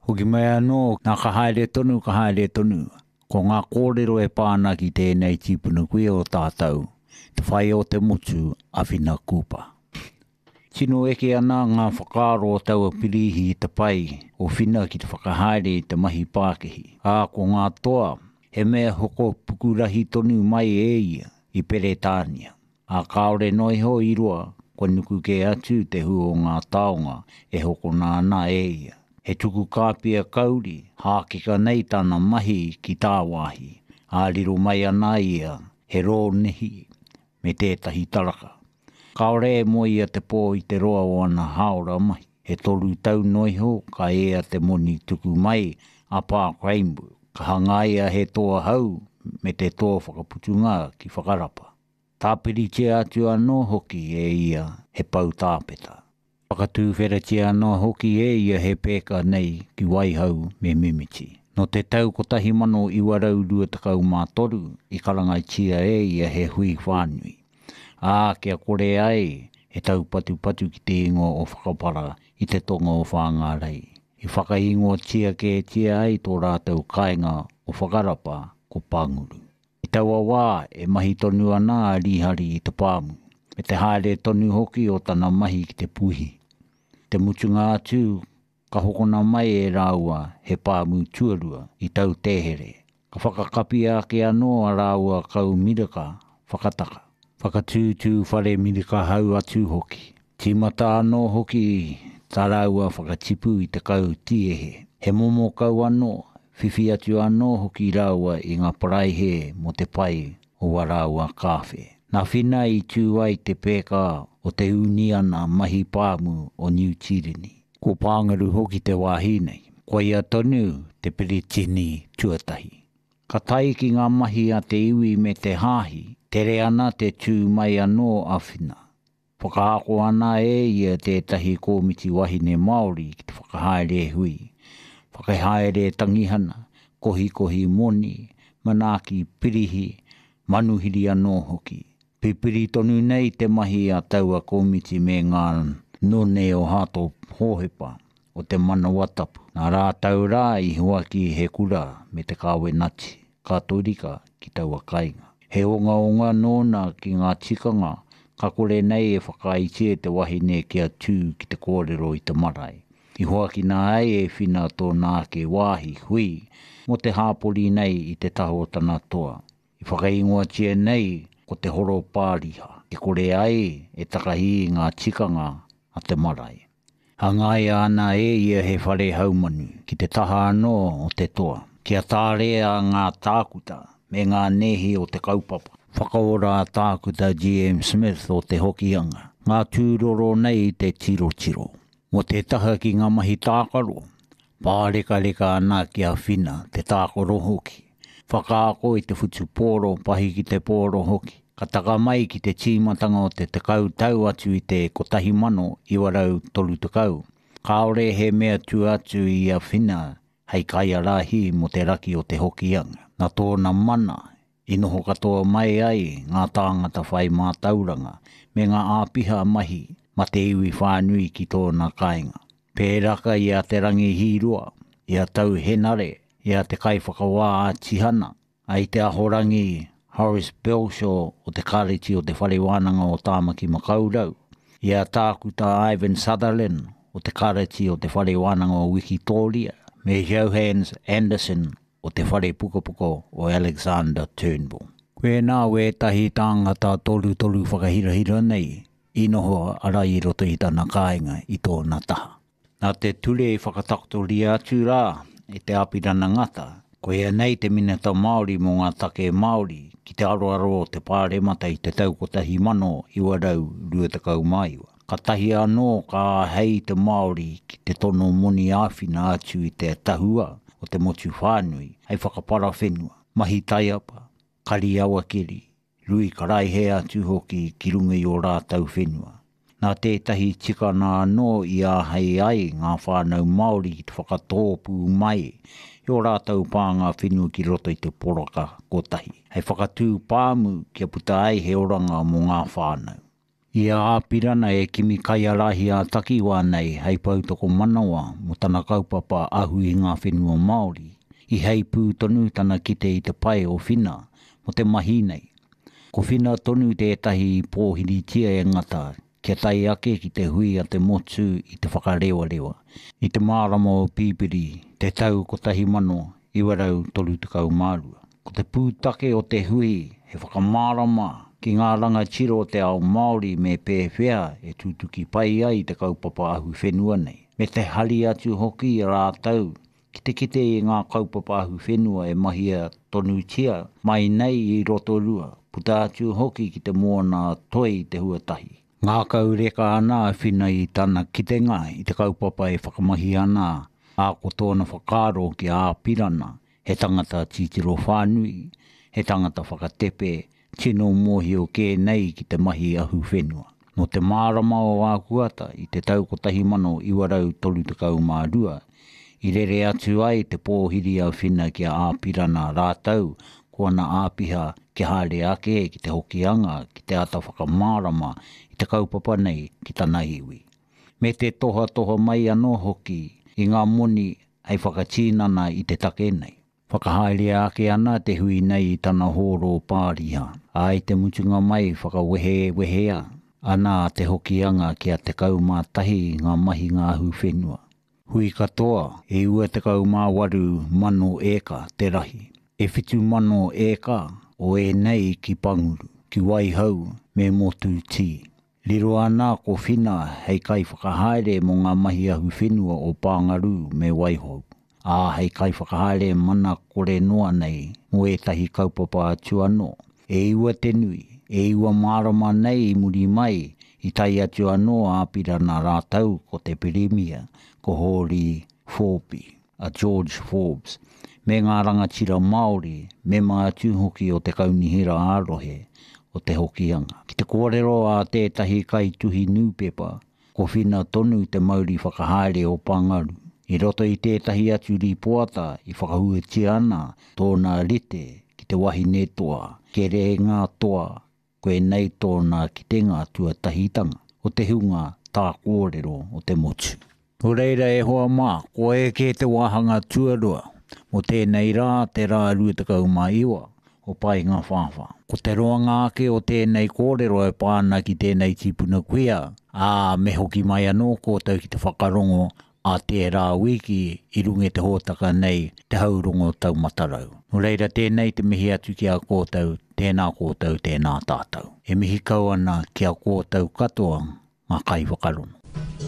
Hoki mai anō, nā ka haere tonu, ka haere tonu, ko ngā kōrero e pā ana ki tēnei tīpuna kuia o tātou, te whai o te motu a Whina Cooper. Tino eke ana ngā whakaaro o taua pirīhi i te pai o Whina ki te whakahaere i te mahi pākihi, ā, ko ngā toa, he mea hoko pukurahi tonu mai e ia i Peretānia. Ā, kāore noa iho i roa, kua nuku kē atu te hū o ngā taonga e hokona ana e ia. He tuku kāpia kauri, hākeka nei tana mahi ki tāwāhi, ā, riro mai ana ia he rōnihi me tētahi taraka. Kāore e moe ia te pō i te roa o ana hāora mahi. He toru tau noa iho ka ea te moni tuku mai a Park Rainbow, ka hangaia he toa hou me te toa whakaputunga ki Whakarapa. Tāpiritia atu anō hoki e ia he pou tāpeta. Whakatūwheratia anō hoki e ia he pēka nei ki Waihau me Mimiti. Nō te tau 1923 i karangatia e ia he hui whānui, ā, kia kore ai he taupatupatu ki te ingoa o Whakapara i te tonga o Whāngārei. I whakaingoatia kētia ai tō rātou kāinga o Whakarapa ko Panguru. I taua wā e mahi tonu ana a Rīhari i te pāmu, me te haere tonu hoki o tana mahi ki te puihi. Te mutunga atu, ka hokona mai e rāua he pāmu tuarua i Tautēhere, ka whakakapia ake anō a rāua kau miraka whakataka. Whakatūtū whare miraka hau atu hoki. Tīmata anō hoki tā rāua whakatipu i te kau tīehe. He momo kau anō, whiwhi atu anō hoki rāua i ngā paraihe mō te pai o wā rāua kāwhe. Nā Whina i tū ai te pēka o te Ūniana Mahi Pāmu o Niu Tīreni. Ko Pāngaru hoki te wāhi nei. Koia tonu te Piritini tuatahi. Ka tae ki ngā mahi a te iwi me te hāhi, tere ana te tū mai anō a Whina. Whakaako ana e ia tētahi kōmiti wahine Māori ki te whakahaere hui, whakahaere tangihana, kohikohi moni, manaaki pirihi, manuhiri anō hoki. Pipiri tonu nei te mahi a taua kōmiti me ngā none o Hato Hōhepa o te Manawa Tapu. Nā rātou rā i huaki he kura me te kāwenati Katorika ki taua kainga. He ongaonga nōna ki ngā tikanga ka kore nei e whakaaetia te wahine kia tū ki te kōrero i te marae. I hoakina ai e Whina tōna ake wāhi hui mō te hāpori nei i te taha o tana toa, i whakaingoatia nei ko Te Horo Pāriha, e kore ai e takahi i ngā tikanga a te marae. Hangaia ana e ia he whare haumanu ki te taha anō o te toa, kia tārea ngā tākuta me ngā nēhi o te kaupapa. Whakaora a Tākuta GM Smith o Te Hokianga, ngā tūroro nei te tirotiro. Mō te taha ki ngā mahi tākaro, pārekareka ana ki a Whina te tākaro hoki. Whakaako i te whutupōro, pahi ki te pōro hoki. Ka taka mai ki te tīmatanga o te tekau tau atu i te 1930, kāore he mea tua atu i a Whina hei kaiārahi mō te raki o Te Hokianga. Nā tōna mana i noho katoa mai ai ngā tāngata whai mātauranga me ngā āpiha mahi ma te iwi whānui ki tōna kāinga. Pēraka i a Te Rangi Hīroa, i a Tau Henare, i a Te Kaiwhakawā a Tihana, a i te Ahorangi Horace Belshaw o te Kāreti o Te Whare Wānanga o Tāmaki Makaurau, i a Tākuta Ivan Sutherland o te Kāreti o Te Whare Wānanga o Wikitōria, me Johannes Anderson o te Whare Pukapuka o Alexander Turnbull. Koinā wētahi tāngata torutoru whakahirahira nei i noho ara i roto i tana kāinga i tōna taha. Nā te ture i whakatakotoria atu rā e Te Āpirana Ngata, koia nei te Minita Māori mō ngā Take Māori ki te aroaro o te Pāremata i te tau 1929. Katahi anō ka āhei te Māori ki te tono moni āwhina atu i te tahua o te motu whānui hei whakapara whenua, mahi taiapa, kari awakeri, rui karaihe atu hoki ki runga i ō rātou whenua. Nā tētahi tikana anō i āhei ai ngā whānau Māori ki te whakatōpū mai i ō rātou pānga whenua ki roto i te poraka kotahi, hei whakatū pāmu kia puta ai he oranga mō ngā whānau. I a Āpirana e kimi kaiārahi ā-takiwā nei hei poutokomanawa mō tana kaupapa ahu i ngā whenua Māori, i heipū tonu tana kite i te pae o Whina mō te mahi nei. Ko Whina tonu tētahi i pōhiritia e Ngata kia tae ake ki te hui a te motu i Te Whakarewarewa, i te marama o Pipiri, te tau 1932. Ko te pūtake o te hui he whakamārama ki ngā rangatira o te ao Māori me pēwhea e tutuki pai ai te kaupapa ahuwhenua nei, me te hari atu hoki i a rātou ki te kite i ngā kaupapa ahuwhenua e mahia tonutia mai nei i Rotorua, puta atu hoki ki te moana toi te huatahi. Ngākau reka ana a Whina i tana kitenga i te kaupapa e whakamahi ana, ā, ko tōna whakaaro ki a Āpirana, he tangata titiro whānui, he tangata whakatepe, tino mōhio kē nei ki te mahi ahuwhenua. Nō te marama o Ākuata i te tau 1932, i rere atu ai te pōhiri a Whina ki a Āpirana rātou ko ana āpiha kia haere ake ki te Hokianga ki te āta whakamārama i te kaupapa nei ki tana iwi. Me te tohatoha mai anō hoki i ngā moni hei whakatinana i te take nei. Whakahaerea ake ana te hui nei i tana hōro pāriha, ā, i te mutunga mai whakawehewehea ana a Te Hokianga kia 11 ngā mahinga ahuwhenua. Hui katoa, e 98 mano ēka te rahi. E 7,000 ēka o ēnei ki Panguru, ki Waihou me Motutī. Riro ana ko Whina hei kaiwhakahaere mō ngā mahi ahuwhenua o Pāngarū me Waihou, ā, hei kaiwhakahaere mana kore noa nei mō ētahi kaupapa atu anō. E iwa te nui, e iwa marama nei i muri mai, i tae atu anō a Apirana rātou ko te Pirimia, ko Hōri Forby. a George Forbes, me ngā rangatira Māori, mema atu hoki o te Kaunihera ā-Rohe o Te Hokianga. Ki te kōrero a tētahi kaituhi nūpepa, ko Whina tonu te mauri whakahaere o Pangaru. I roto i tētahi atu rīpoata i whakahuatia ana tōna rite ki te wahine toa, kerēnga toa Koinei tōna kitenga tuatahitanga o te hunga tā kōrero o te motu. Nō reira e hoa mā, kua eke te wāhanga tuarua mō tēnei rā, te rā 29 o Paengawhāwhā. Ko te roanga ake o tēnei kōrero e pā ana ki tēnei tīpuna kuia, ā, me hoki mai anō kōtou ki te whakarongo ā tērā wiki i runga i te hōtaka nei, Te Haurongo Taumatarau. Nō reira tēnei te mihi atu ki a kōtou, tēnā kōtou, tēnā tātou. E mihi kau ana ki a kōtou katoa ngā kaiwhakarongo.